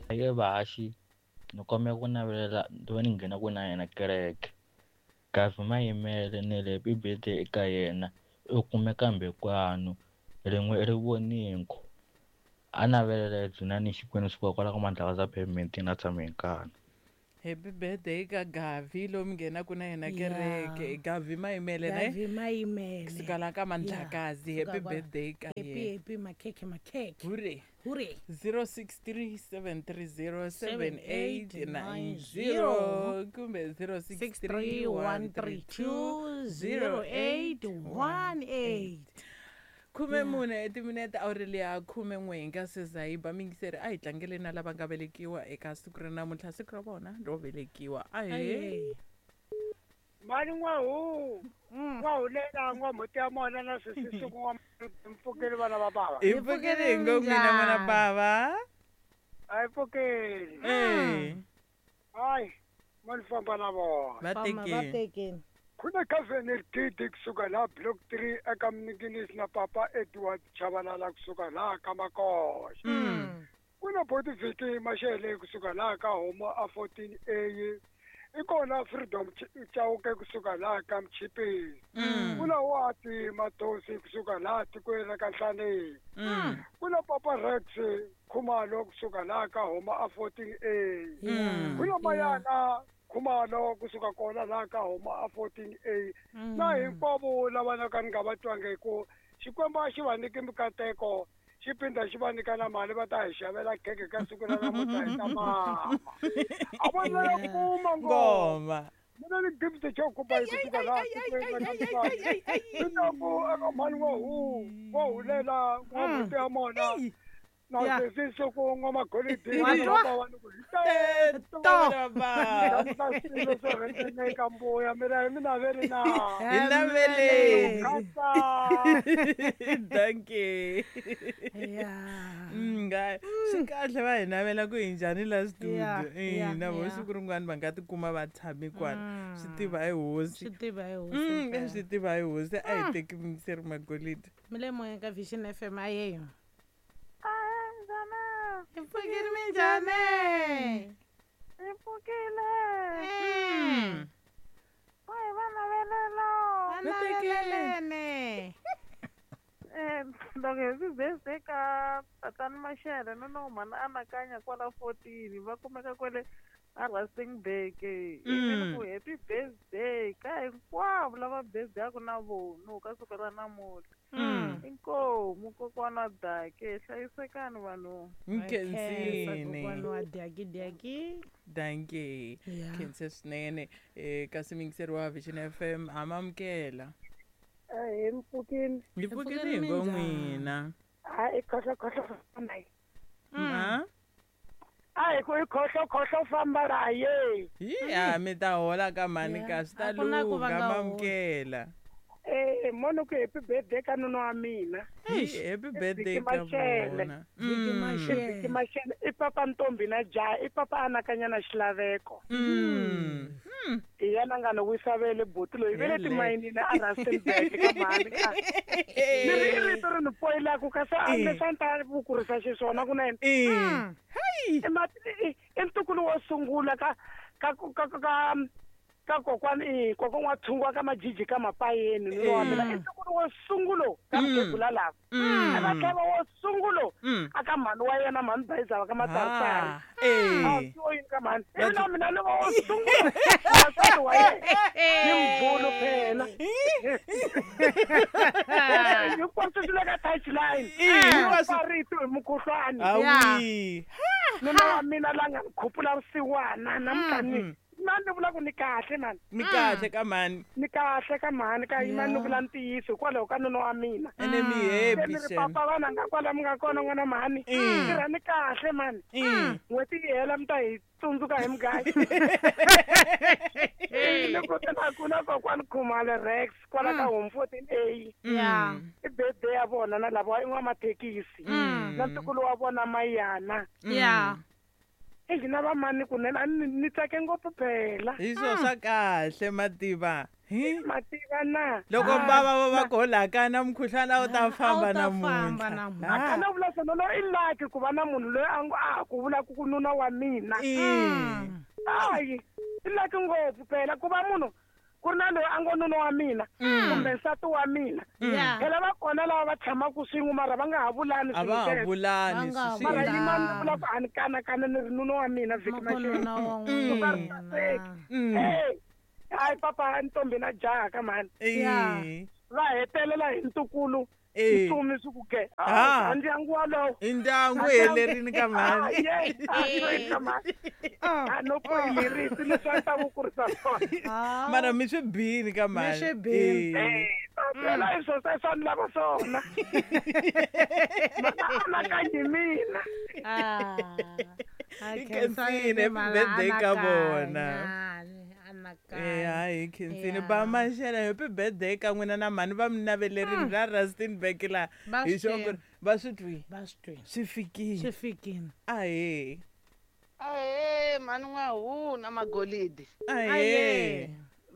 Eka vahaxi ni kombela ku navelela ni va ni nghenaku na yena kereke. Gavi Mayimele ni ri happy birthday eka yena u kumeka Mbekwanu rin'we rivoningo. A navelela Dzunani Xikwembu suka kwala ka Mandlakazi pavement na tshame hi nkani. Happy birthday ka Gavi lomu nghenaku na yena kereke. Gavi Mayimele ne? Gavi Mayimele. Kusuka la ka Mandlakazi. Yeah. Happy Suka kwala. birthday ka Happy yena. happy makhekhe makhekhe. Hure. Hure. 0637307890 kumbe 0631320818. 14 etiminete Aurelia 11 hi nga se za yi ba mingiseri a hi tlangele na lava nga velekiwa eka siku ra namuntlha siku ra vona ro velekiwa ahee. Mani n'wahu n'wahulela n'wamhuti ya mona na swisisiku n'wa mpfukeli vana va bava. Hi pfukeli hi ngo n'wina n'wana bava. A hi pfukeli. Eh. Hayi mo ni famba na vona. Va tekeni. Tekeni. Ku na Governor Gidi kusuka laha Block 3 eka Mninginisi na Papa Edward Chabalala kusuka laha ka Makoxa. Ku na Boti Viki Mashele kusuka laha ka Homo a 14A. I kona Freedom Chauke kusuka laha ka Mchipisi. Ku na Wati Matosi kusuka laha tikweni ra ka Nhlaneni. Ku na Papa Rex Khumalo kusuka laha ka Homa a 14A. Ku na Mayana Khumalo kusuka kona laha ka Homa a 14A. Na hinkwavo lava na ka ni nga va twangi ku Xikwembu a xi va nyiki mikateko xi phinda xi va nyika na mali va ta hi xavela khekhe ka siku ra namuntlha hi ta mama. A va na kuma ngoma. Mina ni gift xo kupa hi kusuka laha tikweni ra ka Mswati. Ni ta ku eka mhani n'wahu n'wahulela n'wamhuti ya mona na sesi siku n'wamagolidi Wa twa? va ni ku hi teto. Baba. Swilo swo rhendzeleka mbuya mina hi mi naveli na. Hi naveleni. Khatsa. Dankie. Yeah. Nga swi kahle va hi navela ku hi njhani la studio. Yeah, yeah, Na vo yeah. siku rin'wana va nga tikuma va tshame kwala. Swi tiva hi hosi. Swi tiva hi hosi. Mpela. Swi tiva hi hosi a hi teki mingiseri magolidi. Mi le moyeni ka Vision FM ayeyo. Hi pfukile minjhani? Hi pfukile. Va hi va navelela. Va navelelene. Loko happy birthday ka tatani Mashele no no mhani anakanya kwala 14 va kumeka kwale a Rustenburg. Ivi ni ku happy birthday ka hinkwavo lava birthday-aku na vona ka siku ra namuntlha. Inkomu kokwana Dake hlayisekani vanhu. Nkhensini. Kokwana wa Daki Daki. Dankie. Yeah. Khense swinene. Kasi mingiseri wa Vision FM amamukela. Hi mpfukini. Hi pfukile hi ngo n'wina. Hayi khohlo khohlo famba yi. Ma? A hi ku i khohlo khohlo famba la ye. Hi a mi ta hola ka mhani ka swi ta A ku na ku va lungha nga holi. mamukela. Mono ku happy birthday ka nuna wa mina. Hi happy birthday Viki ka Mashele. vona. Viki Mashele. Viki Mashele i papa Ntombi na jaha i papa anakanya na xilaveko. Hi yena nga ni wisa vele buti loyi vele Hele. timayinini a Rustenburg ka mhani ka. Ni ri i rito ri ni poyilaka kasi a leswi a ni ta ku kurisa xiswona kunene. I ntukulu wo sungula ka ka ka ka ka kokwani i kokwana wa thungwa ka majiji ka mapayeni nuna wa mina i ntukulu wo sungulo ka mukhegula lava. A va tlhava wo sungulo a ka mhani wa yena mhani Bayizaba ka Matsaritsari. A swi yini ka mhani ivi na mina ni va wo sungula wansati wa yena ni mbulu phela. Hinkwaswo swi le ka touchline. Hinkwaswo- Rito hi mukhuhlwani. Awi. Nuna wa mina la nga ni khupula vusiwana namuntlha ni na ni vula ku ni kahle mani. Mi kahle ka mhani. Ni kahle ka mhani ka yima ni vula ntiyiso hikwalaho ka nuna wa mina. Ene mi Se happy ni ri shem. papa vana nga kwala mi nga kona n'wana mhani. Tirha ni kahle mani. N'hweti yi hela mi ta hi tsundzuka hi mugayo. Ni ku na ku na kokwani Khumalo Rex kwala ka Home 14A. Yeah. I birthday ya vona na lava i n'wamathekisi. Na ntukulu wa vona Mayana. Yeah. Exi na vamani kunene a ni tsake ngopfu phela. Hi swo swa kahle mativa. Hi? Mativa na. Loko bava va ko la ka na mukhuhlwana a wu ta famba namuntlha. A kana vula swona lo i lucky ku va na munhu loyi a ngo a ku vula ku nuna wa mina. Hayi, i lucky ngopfu phela ku va munhu ku ri na loyi a ngo nuna wa mina kumbe nsati wa mina. Phela va kona lava va tshamaka swin'we mara va nga ha vulani A va ha vulani mara yima ni vula ku a ni kanakana ni ri nuna wa mina vhiki maxele. Hayi papa ntombi na jaha ka mhani. Va hetelela hi ntukulu. Ntsumi swi ku ke. A ndyangu walowo. I ndyangu helerini ka mhani. A no ku lerisi leswi a ta ku kurisa swona. Mara mi swi bini ka mhani. Mi swi bini. Phela i swo swa ni lava swona. Anakanyi mina. I khensile happy birthday ka vona. Hayi khensile ba Maxele happy birthday ka n'wina na mhani va mi navelerini la Rustenburg la hi xo ku va swi twi swi fikile ahee ahee mhani n'wahuna magolidi ahee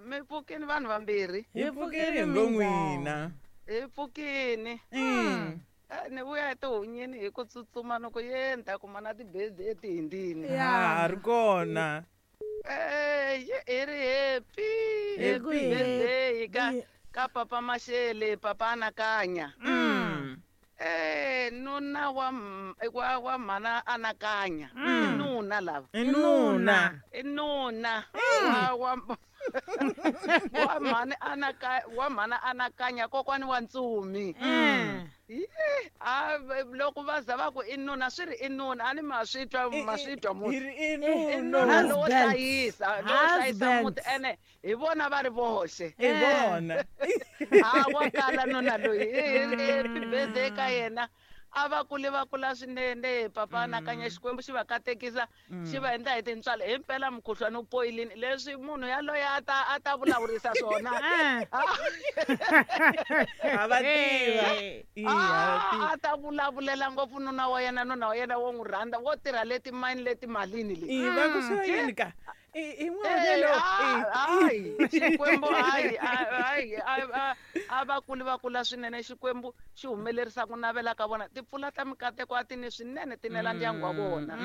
mi pfukini vanhu vambirhi hi pfukini hi ngo n'wina hi pfukini ni vuya etihunyini hi ku tsutsuma ni ku ye ni ta kuma na tibezi etihindini ha ri kona. Hi ri happy happy birthday ka papa Maxele papa Anakanya. Nuna wa mhana Anakanya. I nuna lava. I nuna. I nuna. Wa mhana Anakanya wa mhana Anakanya kokwani wa Ntsumi. Loko va za va ku i nuna swi ri i nuna a ni ma swi twa munhu i nuna lowo hlayisa muti ene hi vona va ri voxe i vona a wa kala nuna loyi happy birthday ka yena a va kule va kula swinene papa Anakanya Xikwembu xi va katekisa xi va endla hi tintswalo himpela mukhuhlwani wu poyilini leswi munhu yaloye a ta vulavurisa swona a va tiva a ta vulavulela ngopfu nuna wa yena wo n'wi rhandza wo tirha leti mayini leti malini leti va ku swi yini ka i n'wana lo hayi Xikwembu hayi hayi a va kuli va kula swinene Xikwembu xi humelerisa ku navela ka vona timpfula ta mikateko a ti ni swinene ti nela ndyangu wa vona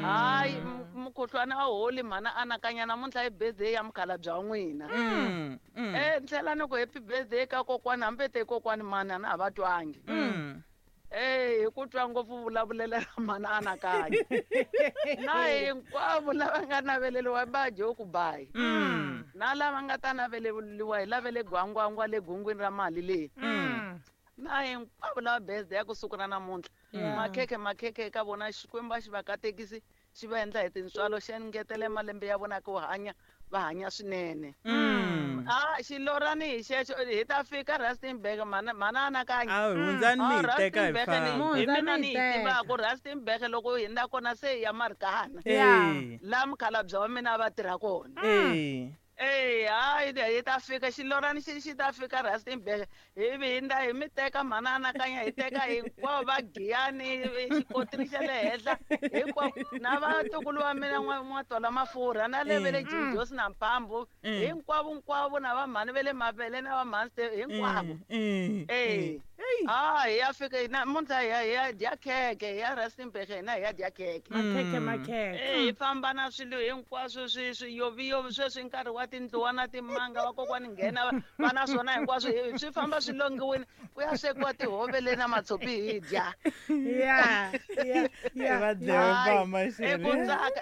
hayi mukhuhlwana a holi mhana Anakanya namuntlha i birthday ya mukhalabye wa n'wina ni tlhela ni ku happy birthday ka kokwani hambi te kokwani mani a na ha va twangi hi ku twa ngopfu vulavulela ra mhana Anakanya na hinkwavo lava nga naveleriwa va dye ku bayi na lava nga ta naveleriwa hi lavele gwangwangwa le gungwini ra mali leyi na hinkwavo lava birthday ya kusuka na namuntlha makhekhe eka vona Xikwembu a xi va katekisi xi va endla hi tintswalo xi engetele malembe ya vona ku hanya va hanya swinene. Xilorani hi xexo hi ta fika Rustenburg mhana Anakanya. A hundzani mi hi teka hi famba. Hi mina ni yi tivaka Rustenburg loko hi hindza kona se hi ya Marikana. Laha mukhalabye wa mina va tirha kona. Hayi hi ta fika xilorani xi ta fika Rustenburg hi hindza hi mi teka mhana Anakanya hi teka hinkwavo va Giyani xikotini xa le henhla hinkwavo na vatukulu va mina n'watola mafurha na le ve le Josi na Mphambu hinkwavo na vamhani ve le Mavele na vamhani hinkwavo. Hi ya fika namuntlha hi ya dya khekhe hi ya Rustenburg hina hi ya dya khekhe. Makhekhe. Hi famba na swilo hinkwaswo swiyoviyovi sweswi nkarhi wa tindluwa na timanga vakokwani nghena va na swona hinkwaswo swi famba swi longiwini ku ya swekiwa tihove le na matshopi hi dya. Va dlewa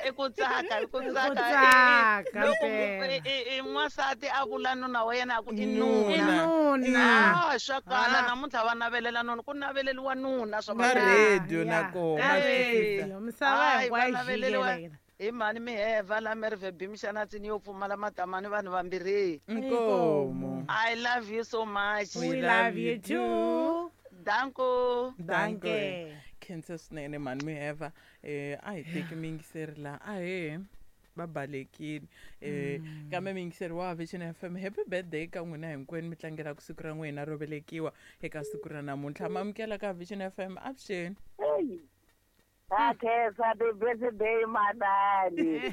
I ku tsaka loko n'wansati a vula nuna wa yena a ku i nuna. Swa kala namuntlha va navelela nuna ku naveleriwa nuna swa ka radio na kona misava hinkwayo hi mhani miheva la Merve Bimixana tsini yo pfumala matamani vanhu vambirhi. Inkomo. I love you so much. We love you too. Danko. Danke. Khensa swinene mhani miheva. A hi teki miyingiseri la ahee va balekile. Kambe miyingiseri wa Vision FM happy birthday ka n'wina hinkwenu mi tlangelaka siku ra n'wina ro velekiwa eka siku ra namuntlha. Mamukela ka Vision FM avuxeni. Ha khensa ti-birthday manani.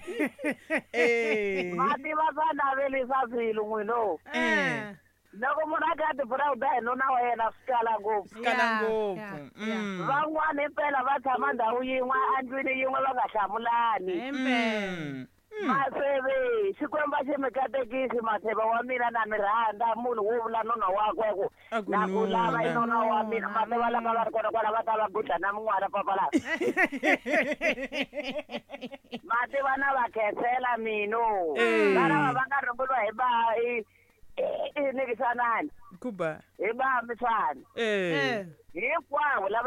Eh. Ma tiva swa navelisa swilo n'wino. Eh. Loko munhu a kha a ti-proud-a hi nuna wa yena swi kala ngopfu. Kala Yeah, ngopfu. yeah, yeah. Van'wana impela va tshama ndhawu yin'we endlwini yin'we va nga hlamulani. Impela. Maseve, Xikwembu a xi mi katekisi Matheva wa mina na mi rhandza munhu wo vula nuna wakwe ku A ku na ku lava i nuna. nuna wa mina Matheva lava va ri kona kwala va ta va gudla na min'wana papalapa. Mativa na va khensela mino. Eh. Lava va nga rhunguriwa hi ba i nikisanani Kuba. hi ba miswana Eh. Eh. hinkwavo lava.